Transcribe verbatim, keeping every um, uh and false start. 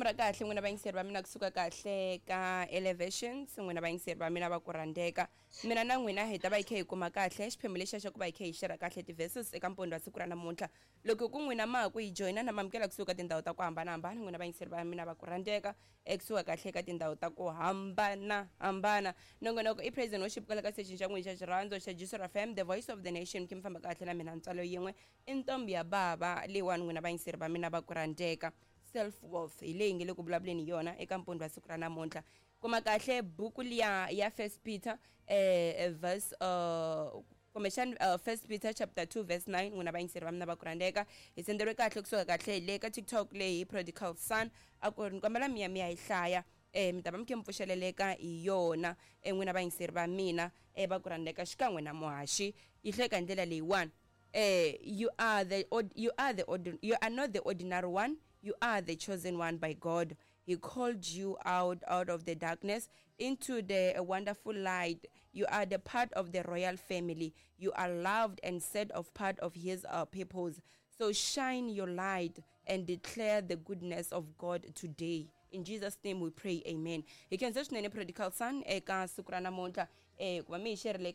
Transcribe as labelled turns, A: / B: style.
A: Risimu ra kahle n'wina vayingiseri va mina kusuka kahle ka Elevations, n'wina vayingiseri va mina va ku rhandzeka. Mina na n'wina hi ta va hi kha hi kuma kahle xiphemu lexiya xa ku va hi kha hi share kahle ti-verses eka mpundzu wa siku ra namuntlha. Loko ku n'wina ma ha ku hi joyina na mamukela kusuka tindhawu ta ku hambanahambana, n'wina vayingiseri va mina va ku rhandzeka, ekusuka kahle ka tindhawu ta ku hambanahambana. Nongonoko i Praise and Worship kwala ka station xa n'wina xa xirhandzo xa Jesu F M, the voice of the nation. Ki mi famba kahle na mina ntswalo yin'we i ntombi ya bava leyiwani, n'wina vayingiseri va mina va ku rhandzeka. Self worth hi leyi nge le ku vulavuleni hi yona eka mpundzu wa siku ra namuntlha. Kuma kahle buku liya ya First Peter eh, verse uh, kumbexani uh, First Peter chapter two verse nine, n'wina vayingiseri va mina va ku rhandzeka. Hi senderiwe kahle kusuka kahle hi le ka TikTok leyi hi Prodigal Son, a ku ri ni kombela mi ya mi ya yi hlaya, eh mi ta va mi khe mi pfuxeleleka hi yona, eh n'wina vayingiseri va mina eh va ku rhandzeka xikan'we na muhaxi. Yi hleka hi ndlela leyiwani: eh you are the you are the you are not the ordinary one, you are the chosen one by God. He called you out out of the darkness into the wonderful light. You are the part of the royal family. You are loved and set of part of his uh, peoples. So shine your light and declare the goodness of God today. In Jesus' name we pray, amen. Hi khensa swinene, Prodigal Son, eka siku ra namuntlha eh ku va mi hi xerile.